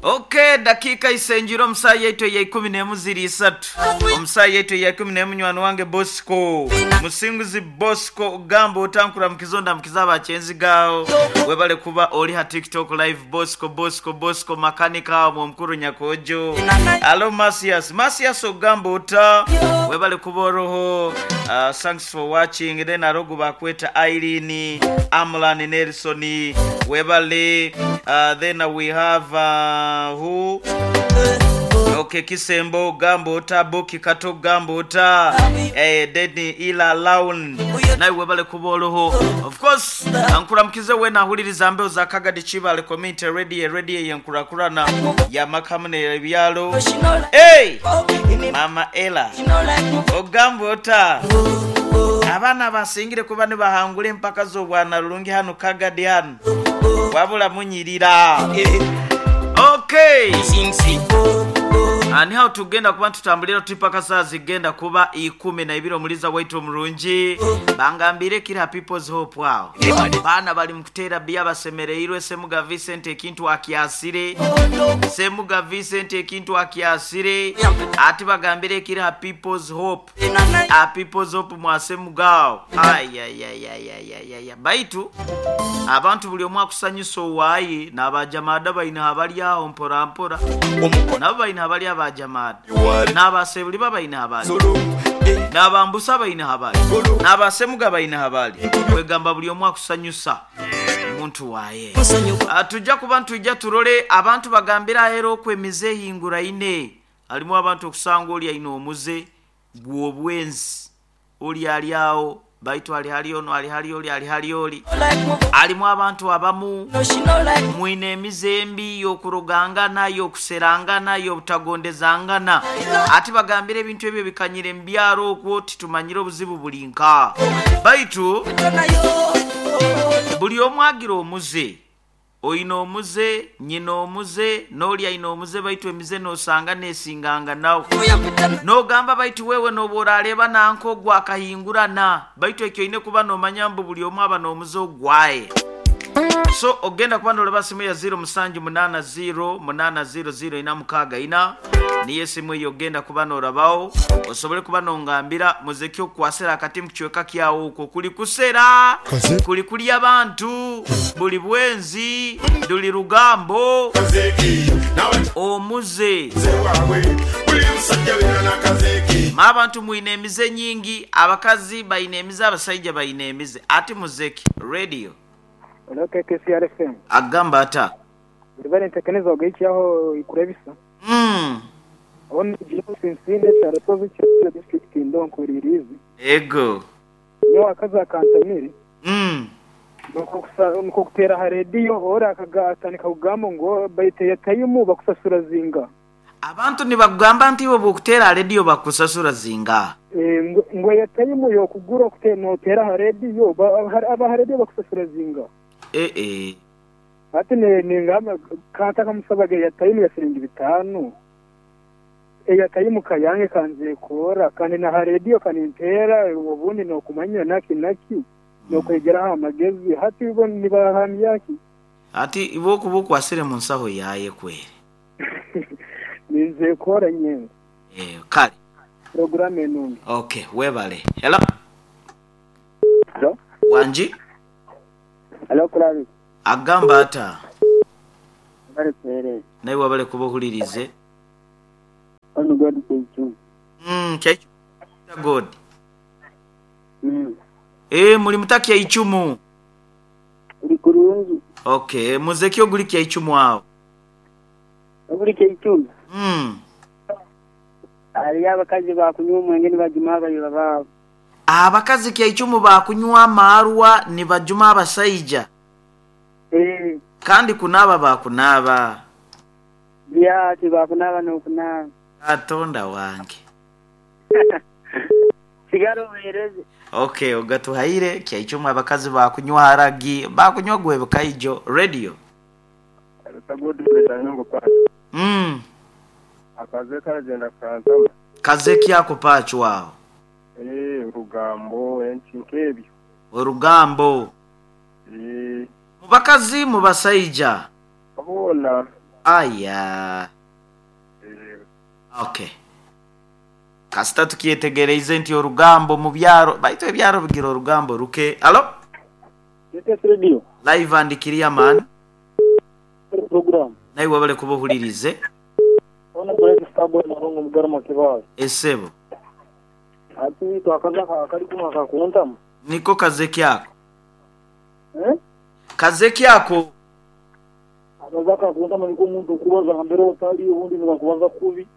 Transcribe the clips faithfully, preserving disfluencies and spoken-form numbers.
Okay, dakika isenjiro omusayi yaitu eya ikumi n'emu ziri isatu. Omusayi yaitu eya ikumi n'emu nywani wange Bosco. Musinguzi Bosco gamba otankura mukizonda mukiza abakyenzigawo. Webale kuba oli ha TikTok live Bosco Bosco Bosco makanika omukuru Nyakojo. Alo Masias, Masias ogamba ota webale kuba oroho. Uh, thanks for watching. Then arogu bakweta Irene, Amlan Nelson, webale. Uh, then we have uh, who? Okay, Kisembo Gambota, Boki Kato Gambota, eh, Deni Ila Laun. Nawe webale kuba oroho. Of course, ankuramukize we nahuliriza mbeo za Kagadi Chibale Community Radio, radio yenkurakurana ya makamune ebyalo. Hey! Mama Ella. Ogambota. Abaana basingire kuba ne bahangula empaka z'obwana lulungi hano Kagadi hano. Wabula munyirira. Okay. Ani hao tugenda kuba tutambulira tutipaka saa zigenda kuba ikumi na ibiri omuliza waitu omurungi. Bangambire kira People's Hope wao. Baana bali mukutera bia basemereirwe Semuga Vincent ekintu akiasire. Semuga Vincent ekintu akiasire. Ati bagambire kira People's Hope. A People's Hope mwa Semugao. Ay ay ay ay ay ay ay. Baitu abantu buli omu akusanyusa owaayi n'abajamaada baina abali awo mpora mpora. Nabo baina abali abajamaada. N'abasebuli babaina abali. N'abambusa baina abali. N'abasemuga baina abali. Kwegamba buli omu akusanyusa muntu waaye. Tujja kuba ntujja turole abantu bagambira ahera okwemize ehingura ine. Alimu abantu okusanga oli aine omuze gw'obwenzi. Oli ali awo baitu ali hali ono ali hali oli ali hali oli. Alimu abantu abamu mwine emize embi y'okurogangana y'okuserangana y'obutagondezangana. Ati bagambire ebintu ebyo bikanyire mu byaro okwo titumanyire obuzibu buli nka. Baitu buli omu agira omuze. Oyina omuze, nyina omuze, n'oli ayina omuze baitu emize n'osanga n'esinganga nawe. N'ogamba baitu wewe n'oba orareba nanka ogwo akahingurana. Baitu ekyo oyine kuba n'omanya mbu buli omu aba n'omuze ogwaye. So ogenda kuba n'oleba simu ya zero musanju munana zero munana zero zero ina mukaaga ina. Niyo esimu eyo ogenda kuba n'orabaho osobole kuba n'ongambira muzeki okukwasira akati mu kichweka kyawo okwo kuli kusera kuli kulya abantu buli bwenzi duli lugambo omuze. Ma abantu mwine emize nyingi, abakazi bayina emize, abasajja bayina emize. Ati muzeki radio K K C R F M agamba ata bari ntekeneza ogeichaho ikurebisa. Mm. Ono James Kyarasozi Kyariro district ndonkuririzi. Ego. Nyo akaza akantamire. Mm. Nuko kusa nuko kutera ha radio ora akagatandika kugamba ngo bayite tayimu bakusasura zinga. Abantu nibagamba nti bo bokutera radio bakusasura zinga. Eh ngo ya tayimu yo kugura kutera no tera ha radio aba ha radio bakusasura zinga. Eh eh. Ati ne ningamba kanta kamusabaga ya tayimu ya siringi bitanu. Eya tayimu kayange kanze kora kandi na ha radio kanintera ubundi no kumanya naki naki no kwegera amagezi hati bo nibahamyaki. Ati ibo kubukwasire mu nsaho yaye kwere. Ninze kora nyenga. Eh kale. Program enungi. Okay, webale. Hello. Hello. Wanji? Hello Kulabi. Agamba ata. Bale pere. Naye wabale kubohulirize. Ono God keichu. Mm, keichu. God. Mm. Eh, muri mutaki ya ichumu. Uri kurungi. Okay, muzeki oguli kya ichumu awo. Oguli kya ichumu. Mm. Ali abakazi bakunywa omwenge nibajuma abayiba baabo. Abakazi kya ichumu bakunywa amarwa nibajuma abasaija. Eh. Kandi kunaba bakunaba. Bya tibakunaba n'okunaba. Katonda wange. Sigaro wereze. Okay, ogatuhaire kya ichumu abakazi bakunywa haragi, bakunywa gwe bukaijo radio. Mm. Akaze karagenda kantama. Kaze kyako pachu wao. Eh, urugambo enchi nkebyo. Urugambo. Eh. Mubakazi mubasaija. Abona. Aya. Eh, Okay, kasita tukyetegereize nti orugambo mu byaro baitu ebyaro bigira orugambo ruke. Alo. K T S Radio. Live and clear, man. Program. Naye wabale kuba ohulirize. Ona Great Starboy Marongo Mugarama Kibawe. Esebo. Ati twakaza kali kuma kakuntamu. Niko kazeki ako. Eh? Kazeki ako. Akaza kakuntamu niko omuntu okubaza mbere otali, ubundi nibakubaza kubi.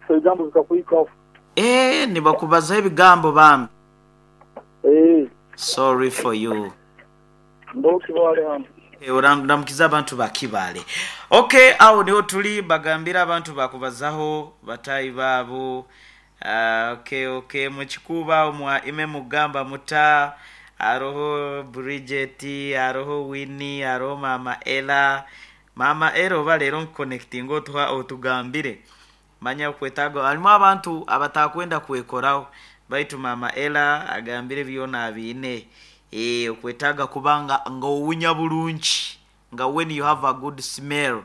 So ebigambo bikakuhikaho. Eh, nibakubaza ebigambo bambi. Eh, Sorry for you. Ndo Kibale hano. Eh, Oramukiza abantu bakibale. Okay, awo niho tuli bagambira abantu bakubazaho batayi baabo. Uh, okay, okay, mukikuba mwa ime mugamba muta aroho Bridget, aroho Winnie, aroho Mama Ella. Mama Ella, oba leero nkuconnectinga otuha otugambire. Manya kwetaga harimu abantu abatakwenda kwekoraho, baitu Mama Ella agambire byona abiine. Eh, okwetaaga kubanga nga owunya bulungi, nga when you have a good smell.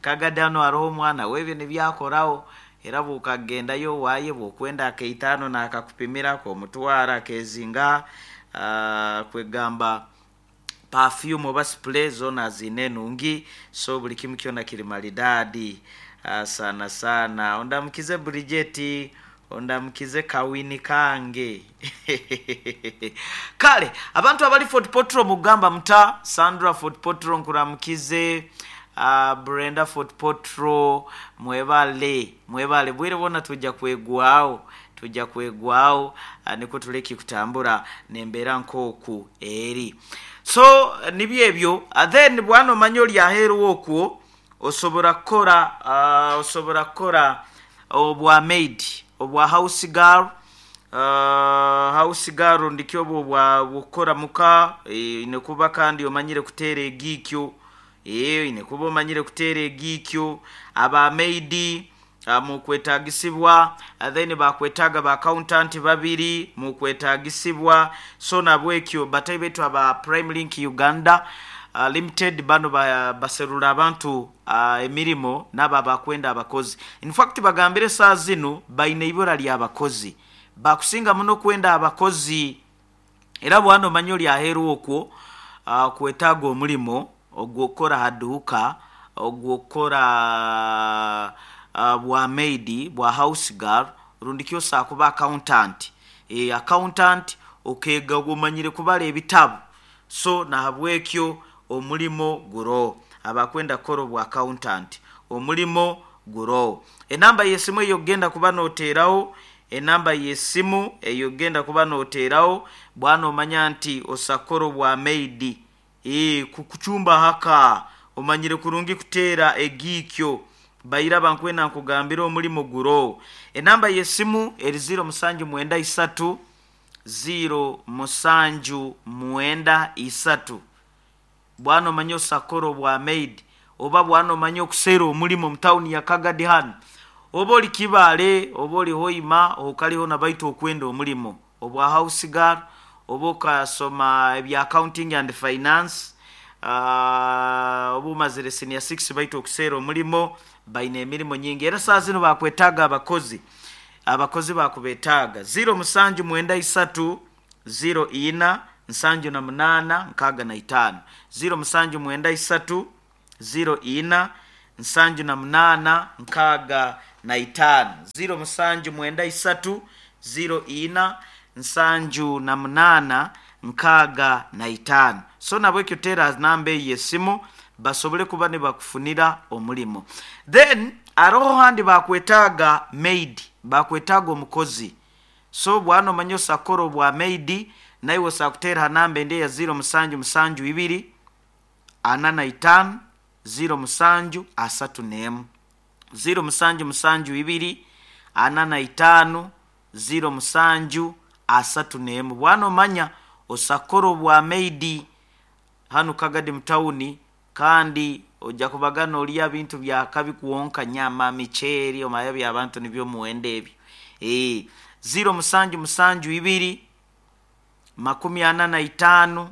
Kagadi hano hariho omwana webyo nibyakoraho, era bw'okagendayo waaye bw'okwenda akaitaano naakakupimirako omutwara akezinga uh, kwegamba perfume oba spray zona ziine enungi, so buli kimu kyona kiri maridadi. uh, sana sana ondamukize Bridget, ondamukize kawini kange. Kale abantu abali Fort Potro mugamba muta. Sandra Fort Potro nkuramukize, uh, Brenda Fort Potro, mwebale mwebale bwire bona tujja kwegwawo, tujja kwegwawo, uh, niko tuleki kutambura nembeera nkooku eri. So nibyo ebyo. uh, then bwana omanya oli aheeru okwo osobora kukora uh, osobola kukora obwa maid, obwa house girl, uh, house girl ndikyo obwo bwa bukora muka. e, nekuba kandi omanyire kuteera egiikyo, e, nekuba omanyire kuteera egiikyo. Aba maid uh, mukwetagisibwa. uh, then bakwetaaga ba accountant babiri mukwetagisibwa. So nabwekyo batayi betu aba Prime Link Uganda uh, Limited bano ba, baserula abantu uh, emirimo nabo abakwenda abakozi. In fact bagambire saa zinu baine ibura ly'abakozi, bakusinga muno kwenda abakozi. Era bwana omanya oli aheeru okwo uh, kwetaaga omulimo ogwokukora haduuka, ogwokukora uh, bwa maid, bwa house girl, rundi kyosa kuba accountant. e, accountant okega omanyire kubala ebitabu. So nahabwekyo omulimo guro abakwenda kukora obwa accountant, omulimo guro. Enamba y'esimu eyo genda kuba noteerawo, enamba y'esimu eyo genda kuba noteerawo bwana omanya nti osakora obwa maid, e, kukuchumba haka omanyire kurungi kuteera egiikyo, baira bankwena nkugambira omulimo guro. Enamba y'esimu eri ziro musanju mwenda isatu, ziro musanju mwenda isatu. Bwana omanye osakora obwa maid, oba bwana omanye okuseera omulimo mu tawuni ya Kagadi hano, oba oli Kibaale oba oli Hoima okaliho nabaitu okwenda omulimo obwa house girl, oba okasoma ebya accounting and finance, uh, oba omazire senior six baitu okuseera omulimo, baine emirimu nyingi. Era saa zino bakwetaaga abakozi, abakozi bakubetaaga. ziro musanju mwenda isatu ziro ina nsanju na munaana nkaaga na itaano, ziro musanju mwenda isatu ziro ina nsanju na munaana nkaaga na itaano, ziro musanju mwenda isatu ziro ina nsanju na munaana nkaaga na itaano. So nabwekyo teera namba eyo esimu basobole kuba ne bakufunira omulimo. Then aroho handi bakwetaaga maid, bakwetaaga omukozi. So bwana omanye osakora obwa maid, naye osakuteera ha namba endi eya ziro musanju musanju ibiri ana na itaano ziro musanju asatu n'emu, ziro musanju musanju ibiri ana na itaano ziro musanju asatu n'emu. Bwana omanya osakora obwa maid hanu Kagadi mutawuni, kandi ojja kubagana olya bintu byakabi kuwonka nyama, miceeri, omanya byabantu nibyo muwendo ebyo. e, ziro musanju musanju ibiri makumi ana na itaano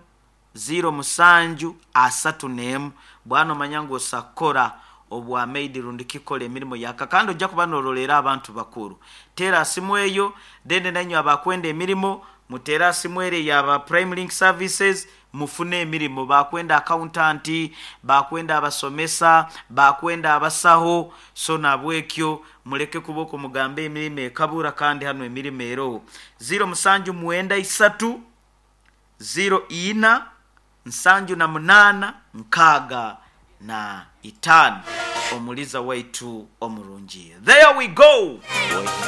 ziro musanju asatu n'emu. Bwana omanya ngu osakora Obwa maid rundi kikola emirimu yaka, kandi ojja kuba norolera abantu bakuru. Teera simu eyo, then nanywe abakwenda emirimu muteera simu ere yaba Prime Link Services, mufune emirimu. Bakwenda accountant, bakwenda abasomesa, bakwenda abasaho. So nabwekyo muleke kuboko mugambe emirimu ekabura, kandi hano emirimu eroho. Ziro musanju mwenda isatu ziro ina nsanju na munana nkaaga na itaano. Omuliza waitu omurungi, there we go.